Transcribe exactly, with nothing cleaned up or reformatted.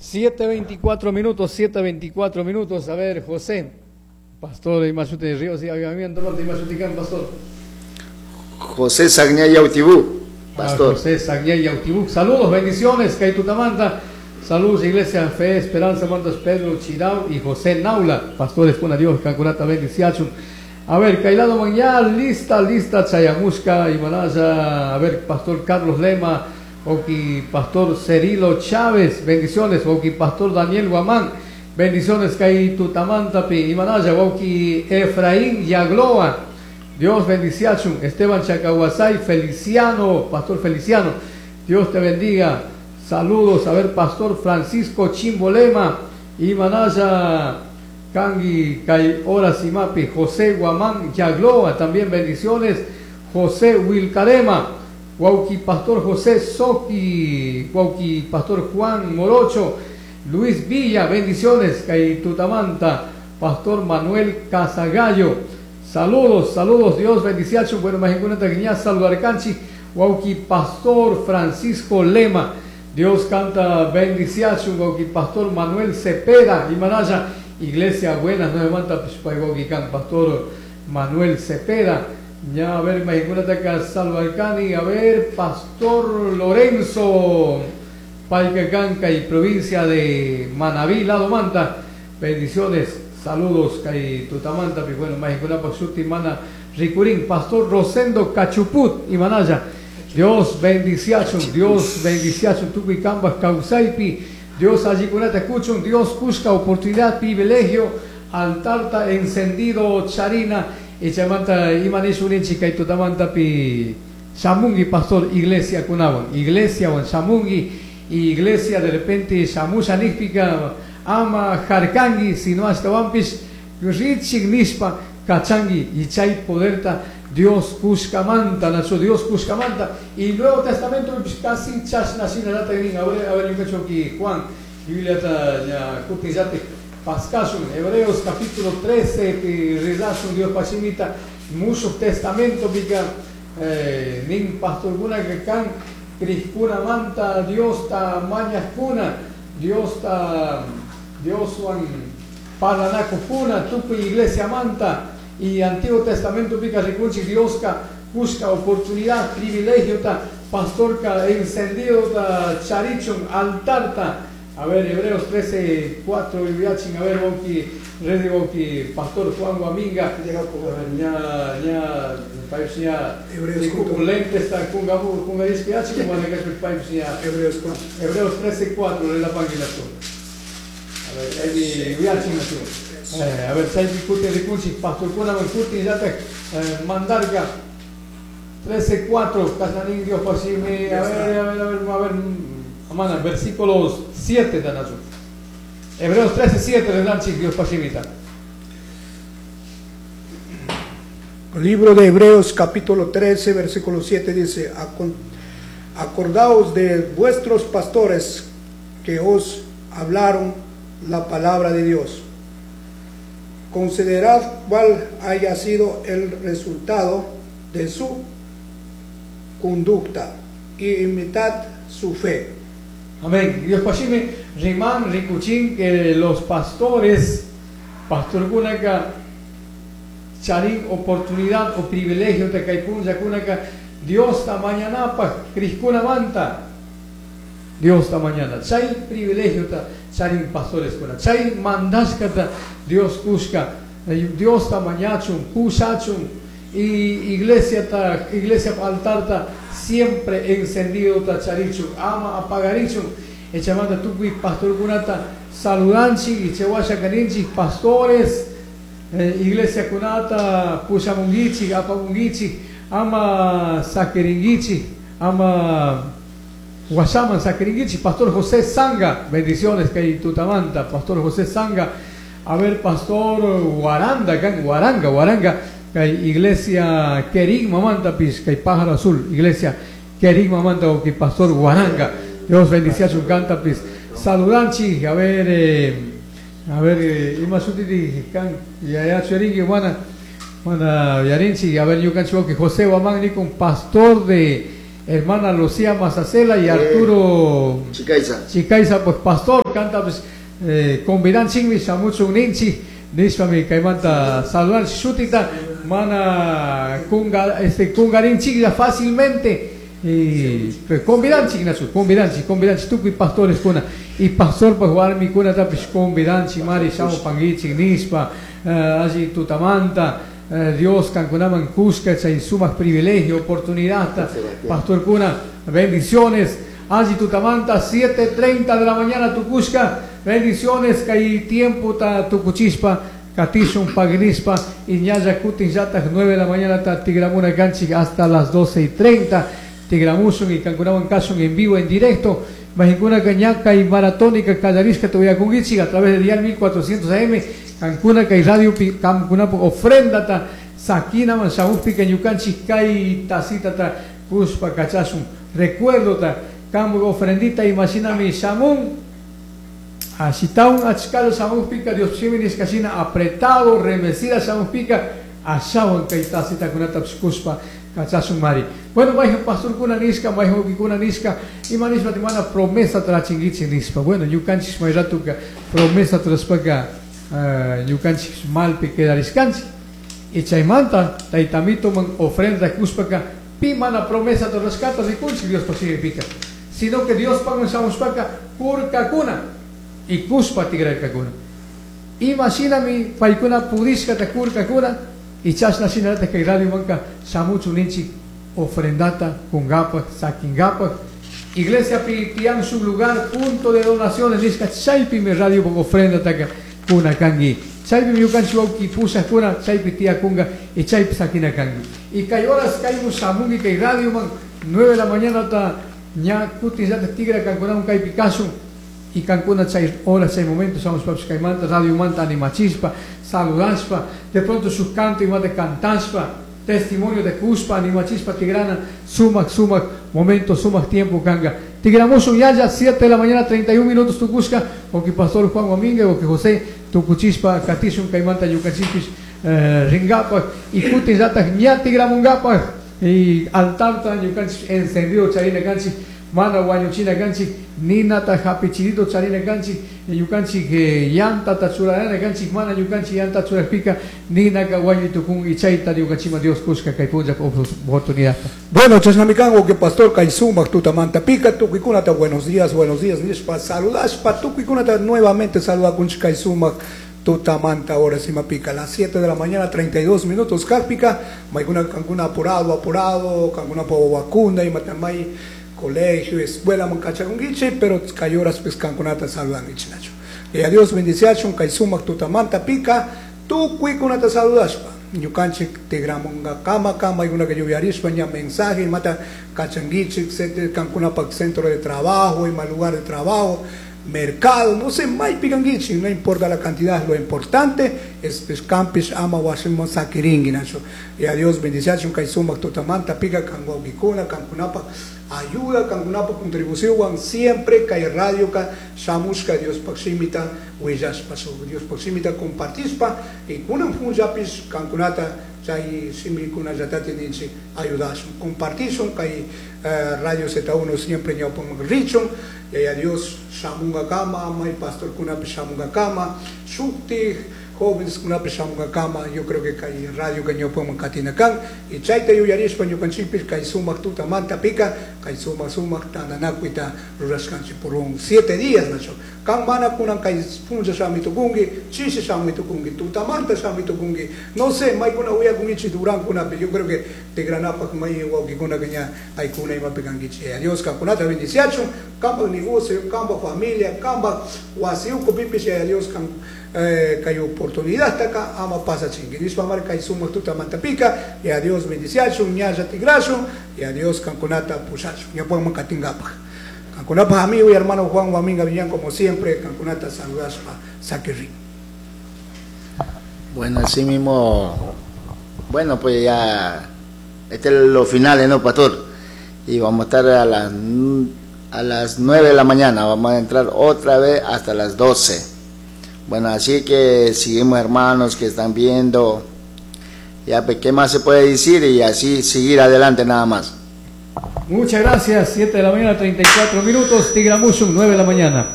siete veinticuatro minutos, siete veinticuatro minutos. A ver, José, pastor de Imachute de Ríos y Avivamiento, de Imachutican, pastor. José Sagñay Yautibú, pastor. Ah, José Sagñay Yautibú. Saludos, bendiciones, Caitutamanta. Saludos, Iglesia Fe, Esperanza, Mantas, Pedro Chirao y José Naula. Pastores con Dios, Cancurata, bendiciachum. A ver, Kailado Mañal, lista, lista, Chayamusca y Manaya. A ver, Pastor Carlos Lema, Oki, Pastor Cerilo Chávez, bendiciones, Oki, Pastor Daniel Guamán, bendiciones, Kaitutamantapi y Manaya, Oki, Efraín Yagloa, Dios bendiciachum, Esteban Chacahuasay, Feliciano, Pastor Feliciano, Dios te bendiga, saludos, a ver, Pastor Francisco Chimbolema y Manaya, Kangi, Kai Orasimapi, José Guamán Yagloa, también bendiciones, José Wilcarema, Guauqui Pastor José Soqui, Guauqui Pastor Juan Morocho, Luis Villa, bendiciones, Kaitutamanta, Pastor Manuel Casagallo, saludos, saludos, Dios bendiciacho, bueno, Majicunata Guiñá, saludar Canchi, Guauqui Pastor Francisco Lema, Dios canta bendiciacho, Guauqui Pastor Manuel Cepeda, y Manaya, Iglesia Buenas Nueve Manta, Pastor Manuel Cepeda. Ya, a ver, Majicunata Salvarcani, a ver, Pastor Lorenzo, Paicacanca y provincia de Manabí, Lado Manta, bendiciones, saludos, Caitutamanta, bueno, Majicunapa, Mana, Ricurín, Pastor Rosendo Cachuput y Manaya, Dios bendiciachum, Dios bendiciachum, Tucuicambas, Causaipi, Dios allí con te escucho, Dios busca oportunidad, privilegio, altarta encendido, charina, y chamanta imanishuninchi kaitutamanta pi shamungi pastor iglesia kunawan, iglesia wan shamungi, iglesia de repente shamusha nijpika ama jarkangi, sino hasta wampis richik nishpa kachangi, y chay poderta Dios kushkamanta, nacho Dios kushkamanta, y Nuevo Testamento casi chashna shina lata a ver, a ver, yo que Juan, Biblia ta ya kutizate Pascashun, Hebreos capítulo trece, rizashun Dios pachimita, mucho testamento pica, eh, nin pastor guna que can, crispuna manta, Dios ta mañas cuna, Dios ta, Dios wan paranaco cuna, tupu iglesia manta, y Antiguo Testamento pica ricunchi, Dios ka busca oportunidad, privilegio ta, pastor ka encendido ta, charichun, altar ta. A ver, Hebreos trece, cuatro, y a ver, Boki, Rey Boki, Pastor Juan Guaminga, ña, ña, ña, Hebreos lentes, kunga, kunga, Hebreos, Hebreos trece, cuatro, la página. A ver, ahí, a ver, sai discute, discute, Pastor Kuna, Mancuti, ya te mandarga. trece, cuatro, Casanín, Dios, pasime, a ver, a ver, a ver, a ver, Amana, versículos siete, Danacho. Hebreos trece, siete, Dios pasimita. El libro de Hebreos, capítulo trece, versículo siete, dice: Acordaos de vuestros pastores que os hablaron la palabra de Dios. Considerad cuál haya sido el resultado de su conducta y imitad su fe. Amén. Dios pasime, Rimán, Ricuchín, que los pastores, pastor Gunaca, charín, oportunidad o privilegio de Caipun, Yacunaca, Dios ta mañana, pa, Criscuna manta, Dios ta mañana, chay privilegio ta, charín pastores cuna, chay mandascata, Dios cusca, Dios ta mañachun, pusachun, y iglesia ta, iglesia altar ta, siempre encendido ta charichu, ama apagarichu, echamanda tupi pastor kunata, saludanchi, y chewasha karinchi, pastores, eh, iglesia kunata, pushamungichi, apamungichi, ama saqueringuichi, ama guasaman saqueringuichi, pastor José Sanga, bendiciones que tutamanta, pastor José Sanga, a ver, pastor Guaranda, Guaranga, Guaranga, iglesia Kerigma Manta, Pisca y Pájaro Azul, iglesia Kerigma Manta, o que pastor Guaranga, Dios bendice a su canta, pis. Saludanchi, a ver, eh, a ver, eh, Imasutiti, can, ya Churingui, Juana, Juana Yarinchi, a ver, yo cancho que José Guamán, con pastor de Hermana Lucía Mazacela y Arturo Chicaiza. Chicaiza, pues pastor, canta pues eh, convidanchinmi shamuchun ninchi nishpami kaymanta saludan shutita mana kunga este kungarinchik fácilmente y pues convidanchik nachu convidanchik convidanchik tukuy pastores kuna y pastor pues warmi kuna tapis convidanchik mari shamu panguichik nishpa uh, allí tutamanta. Dios kankunaman kushka chay sumaq privilegio, oportunidad, pastor kuna, bendiciones. Allí tutamanta, siete treinta de la mañana tukushka, bendiciones, kay tiempo ta tukuchispa, katishun pagnispa, y ñaya kutin yatak nueve de la mañana ta tigramuna kanchik hasta las doce y treinta, tigramusun y kankunaman kashun en vivo, en directo. Majinkuna kañaka y maratónica kallarishka tuyakungichik a través de dial mil cuatrocientos A M, Cancuna kay radio pi cancuna ofrenda ta sakina man shamupi que ñukanchik kay tacita ta kuspa kachasun recuerdo ta kambu ofrendita imaginami shamun ashitaun achkalo shamupi ka Dios shiminis kashina apretado remecida shamupi ka ashawan kay tacita kunata kuspa kachasun mari. Bueno, vaya pastor kuna niska, vaya kuna niska, y manispa timana promesa trachingichi nispa. Bueno, ñukanchik may ratuka promesa traspaka ñukanchik malpi quedariskanchik y chaymanta taytamito man ofrenda kuspaka pi mana promesa torrascata rikunchik Dios pasipica, sino que Dios pagan shamuspaka kurkakuna y kuspa tigrarkakuna. Imaginami paykuna pudishkata kurkakuna y chashna shinata kay radio manka shamuchu ninchik ofrendata kungapak sakingapak. Iglesia pitian su lugar punto de donaciones nishka chaypi mi radio ofrenda taka kuna kangi chaypi ñukanchik wawki pusaq kuna chaypi tiyakunga y chaypi sakina kangi y kay horas kaymu shamungi kay radio man nueve de la mañana ta ña kutin llata tigra kankunawan kaypi kasun y kankuna chay horas chay momento shamushpa kaymanta radio manta animachispa saludashpa de pronto sus canto y mate cantashpa testimonio de kuspa animachispa tigrana sumak sumak momento sumak tiempo kanga tigramusun yaya siete de la mañana treinta y un minutos tukushka o que pastor Juan Domínguez o que José tukuchispa katishun kaymanta yukachispis eh, ringapak y kutin llatak ña tigramungapak y altarta ñukanchis encendido charina kanchik mana wañuchina kanchik ninata hapichirito charina kanchik ñukanchik yantata churarana kanchik mana ñukanchik yanta churajpika ninaka wañutukun y chayta ñukanchima Dios kushka kay punlla oportunidad. Bueno, chasnamikango que pastor kay sumaq tutamanta pika tukuykunata buenos días, buenos días nishpa saludashpa tukuykunata nuevamente saludakunchik kay sumaq tutamanta ahora sí pica a las siete de la mañana treinta y dos minutos karpika maykuna kankuna apurado apurado kankuna po vacuna y matamay colegio, escuela, mancachakunguiche, pero cayoras pues kankunata saludanguiche nacho. Y a Dios bendiciachun kay sumaq tutamanta pica tukuykunata saludashpa. Ñukanchik tigramunga kama kama y una que lluviarishpa ña mensaje mata kachanguiche etcétera kankunapa centro de trabajo y mal lugar de trabajo mercado, no sé, may picanguichi, no importa la cantidad, lo importante es pues campis ama washimon sakiringi nacho. Y a Dios bendiciachun kay sumaq tutamanta pica kanguakikuna kankunapa ayuda kankunapa contribución siempre kay radio ka shamushka Dios pakshimita willashpa Dios pakshimita compartispa y kunan funjapis kankunata chay simikuna yatati ninchi ayudashun compartishun kay eh, radio Z uno siempre ñawpun richun y a Dios shamunga kama may pastor kunapi shamunga kama shukti jóvenes kunapi shamunga kama yo creo que kay radio que ñawpun katinakan y chayta yuyarishpa ñukanchikpis kay sumaq tutamanta pika kay sumaq sumaq tananakuita rurashkanchik por un siete días nacho kan mana kunan kay punlla shamitukunki chishi shamitukunki tutamanta shamitukunki no sé maykuna uyakunkichik duran kunapi yo creo que tigranapak may wawkikuna que ña aykuna imapikankichik a Dios kankunata bendiciachun kampak negocio kampak familia kampak wasiuku pipis a Dios kan eh, kay oportunidad taka ama pasachinki nishpa mari kay sumaq tutamanta pika y a Dios bendiciachun ñalla tigrashun y a Dios kankunata pushachun ñawpakman katinkapak Cancunapa amigo y hermano Juan Guaminga Villán, como siempre, Cancunata saludaspa Saquirri. Bueno, así mismo, bueno, pues ya, este es los finales, ¿no, pastor? Y vamos a estar a las, a las nueve de la mañana, vamos a entrar otra vez hasta las doce. Bueno, así que seguimos, hermanos que están viendo, ya, pues, ¿qué más se puede decir? Y así seguir adelante nada más. Muchas gracias, siete de la mañana, treinta y cuatro minutos, Tigramushun, nueve de la mañana.